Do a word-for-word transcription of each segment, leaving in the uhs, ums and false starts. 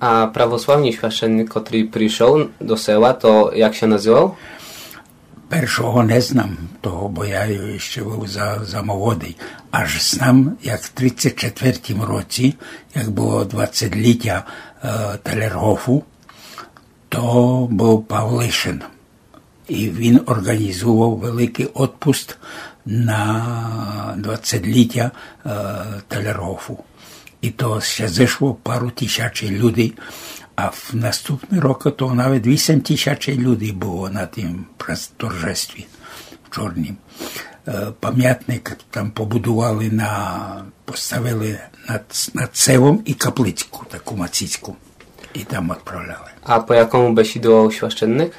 А православный священник, котрый пришов до села, то як ся называв? Першого не знам того, бо я іщы быв за, за молодый. Аж знам, як в тридцять четвертім році, як было двадцетлітя, е, Талергофу, то быв Павлишин. І він орґанізовав великый одпуст на двадцетлітя, е, Талергофу. І то ся зышло пару тисячей людей, а в наступный рок то навет вісем тисячей людей было на тім прес-, торжестві в Чорнім. Е, памятник там побудували на, поставили над, над селом і каплицьку, таку маціцьку. І там одправляли. А по якому бесідував священник?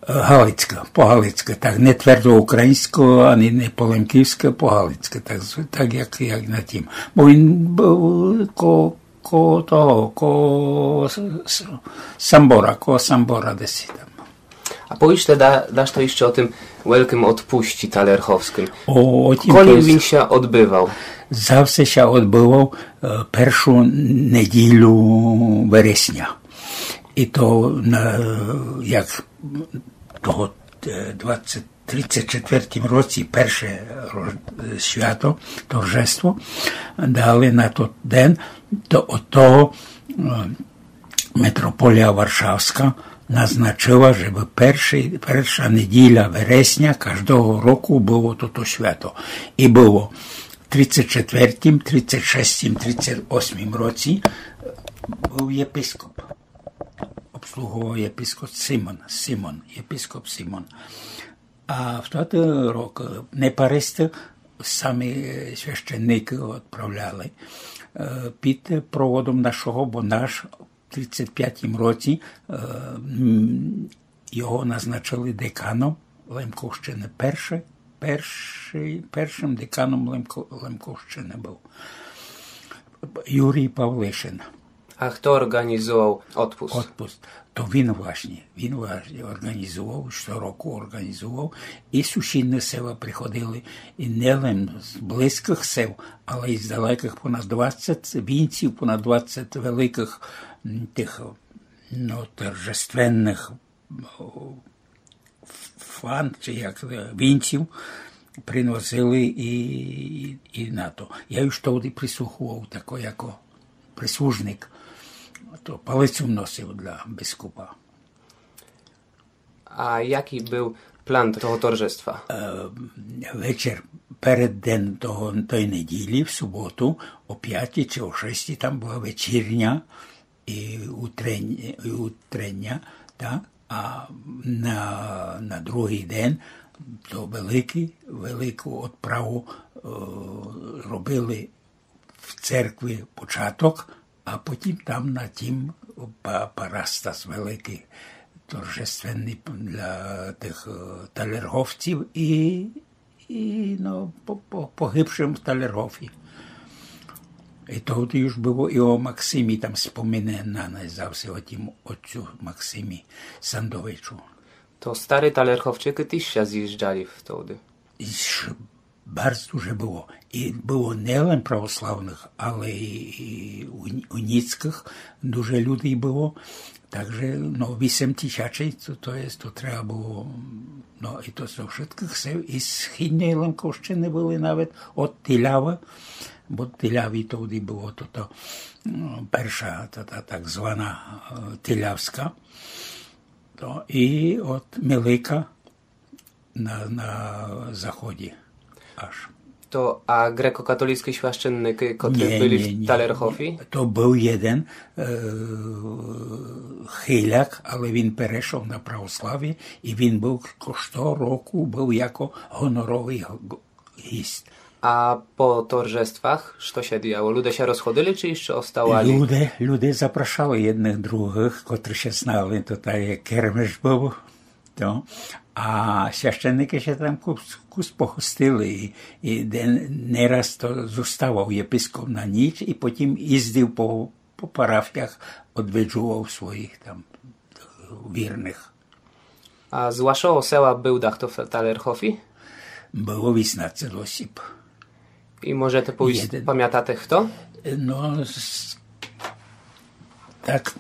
Е, галицька, по галицька, так, не твердо українська, ані не по лемківська, по галицька, так, з-, так як, як на тім. Бо він быв ко-, коло того, коло с-, с-, Самбора, коло Самбора десь там. А повіш да-, дашто іщы о тым великым одпусці талергофскым? О, о тім. Коли він ся одбывав? Завсе ся одбывав, е, першу неділю вересня. І то на, як того, е, двадцять, тридцять четвертім році перше ро-, е, свято, торжество, дали на тот ден, то од того, е, митрополія Варшавська назначыла, жебы першый, перша неділя вересня каждого року было тото свято. І было тридцять четвертім, тридцять шестім, тридцять осмім році, е, быв єпископ. Обслуговував єпископ Симон, Симон, єпископ Симон. А в тот рок, е, не паристы, самі, е, священникы одправляли, е, під проводом нашого, бо наш в тридцять пятім році, е, м, його назначили деканом Лемковщины. Перше, першый, першым деканом Лемко-, Лемковщины быв Юрій Павлишин. А хто орґанізував одпуст? Одпуст. То він власні, він власні орґанізував, што року орґанізував, і сусідні села приходили, і не лем з близькых сел, але й з далекых, понад двадцять вінців, понад двадцять великых, м, тых, ну, торжественных, о, ф-, фан, чи як, е, вінців приносили і, і, і на то. Я уж тогды прислухував тако, яко прислужник, то палицю носив для біскупа. А якый быв план того торжества? Е, вечер перед ден того, той неділі, в суботу, о пятій чи о шестій там была вечірня і утрень-, і утрення, та? А на, на другый ден то великый, велику одправу, е, робили в церкви початок, а потім там на тім па-, парастас великый, торжественный для тых, е, талерговців і, і, ну, по, по, погибшым в Талергові. І тогды уж было і о Максимі, там спомине на, на завсе о тім отцю Максимі Сандовичу. То стары талерговчыкы тіж ся зїжджали тогды? Ж-, барз дуже было. І было не лем православных, але і, і уні-, уніцькых дуже людей было. Так же, ну, вісем тисячей, то, то єст, то треба было, ну, і то зо вшыткых сел, і з Східньой Лемковщины были навет од Тилявы, бо в Тиляві тогды было тото, м, перша, та, та так звана, е, Тилявська, то і од Милика, на, на заході аж. То, а грекокатолицькі священникы, котрі были в Талергові? То быв єден, е, хиляк, але він перешов на православіє і він быв ко-, што року быв яко гоноровый г-, гіст. А по торжествах што ся діяло? Люде ся розходили, чи іщы оставали? Люде, люде запрашали єдных другых, котры ся знали, то так як кермеш быв. То. А священникы ся там кус, кус погостили, і, і де-, не раз то зоставав єпископ на ніч і потім їздив по, по парафіях, одвиджував своїх там вірных. А з вашого села быв дахто в Талергові? Было вісімнадцять осіб. І можете повісти, памятате хто? Но, з-, так,